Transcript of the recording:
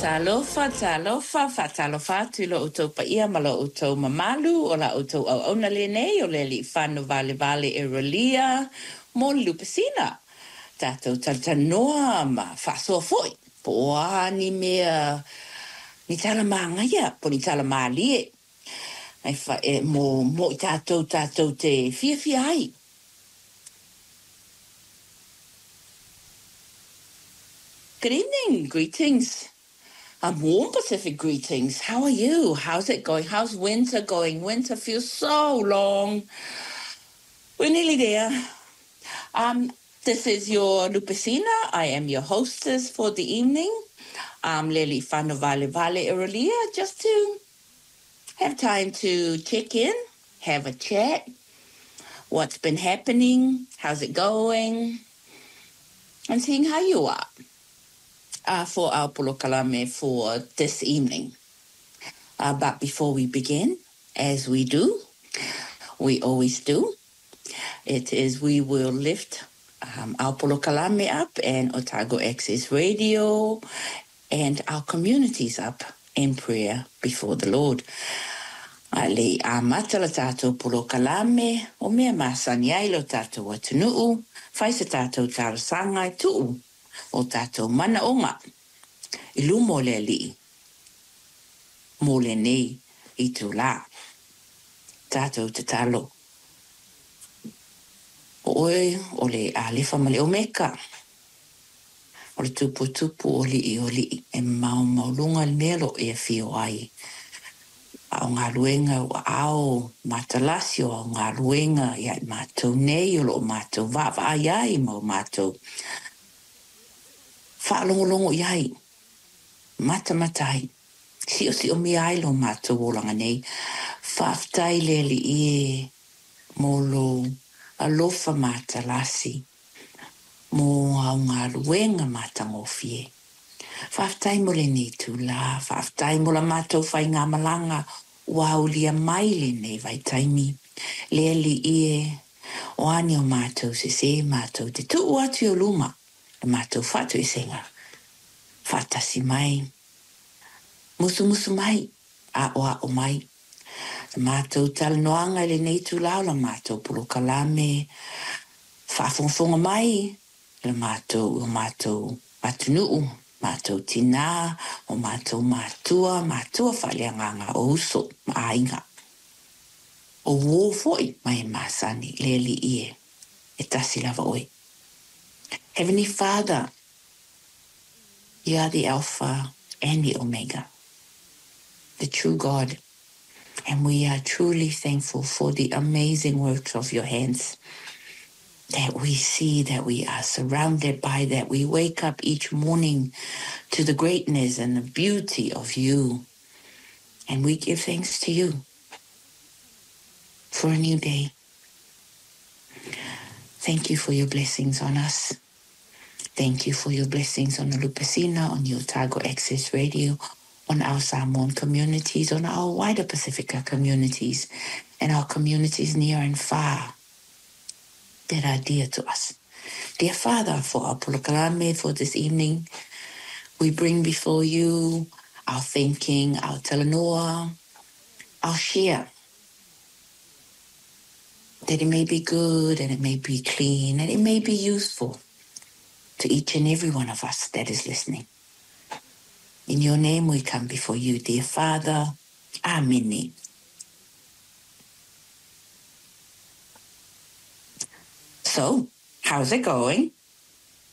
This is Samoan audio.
Talofa, talofa, faatalofa atu i lo outou paia ma lo outou mamalu, o la outou auauna lenei o Lealiifano Valevale Erolia mo le Lupesina. Tatou talatalanoa ma faasoa foi, po o a ni mea, ni tala magaia, po o ni tala malie, e fa, e, mo, mo i tatou tatou te fiafia ai. Good evening, greetings. Warm Pacific greetings. How are you? How's it going? How's winter going? Winter feels so long. We're nearly there. This is your Lupesina. I am your hostess for the evening. I'm Leli Whanovale Vale just to have time to check in, have a chat. What's been happening? How's it going? And seeing how you are for our polokalame for this evening. But before we begin, as we do, we always do, it is we will lift our polokalame up and Otago Access Radio and our communities up in prayer before the Lord. A le i amata la tātou polokalame, o mea masani ai lo tātou atunuu, fai sa tātou talosaga e tuu o tātou manaoga i luma o le Alii mo lenei itulā. Tātou tatalo. O oe o le Alefa ma le Omeka, o le Tuputupu o alii o alii, e maumaualuga le mea o lo o e afio ai. A o galuega o aao matalasi o au galuega ia i matou nei o lo o matou vaavaai ai ma o matou faalogologo i ai, matamata ai, siosiomia ai lo matou olaga nei. Faafetai i le Alii e mo lou alofa matalasi, mo au galuega matagofie. Faafetai mo lenei itulā, faafetai mo la matou faigamalaga ua aulia mai lenei vaitaimi. Le Alii e, o a ni o matou sesē, matou te tuu atu i ou luma la matou faatoesega. Faatasi mai, musumusu mai, aoao mai. La matou talanoaga i lenei itulā o la matou polokalame, faafogafoga mai la matou, o matou atunuu, matou tinā, o matou matua, matua faaleagaga o uso ma aiga. O uō foi ma e masani, le Alii e, e tasi lava oe. Heavenly Father, you are the Alpha and the Omega, the true God, and we are truly thankful for the amazing works of your hands that we see, that we are surrounded by, that we wake up each morning to the greatness and the beauty of you. And we give thanks to you for a new day. Thank you for your blessings on us. Thank you for your blessings on the Lupesina, on the Otago Access Radio, on our Samoan communities, on our wider Pacifica communities, and our communities near and far that are dear to us. Dear Father, for our polokalame for this evening, we bring before you our thinking, our talanoa, our share, that it may be good and it may be clean and it may be useful to each and every one of us that is listening. In your name we come before you, dear Father. Amen. So, how's it going?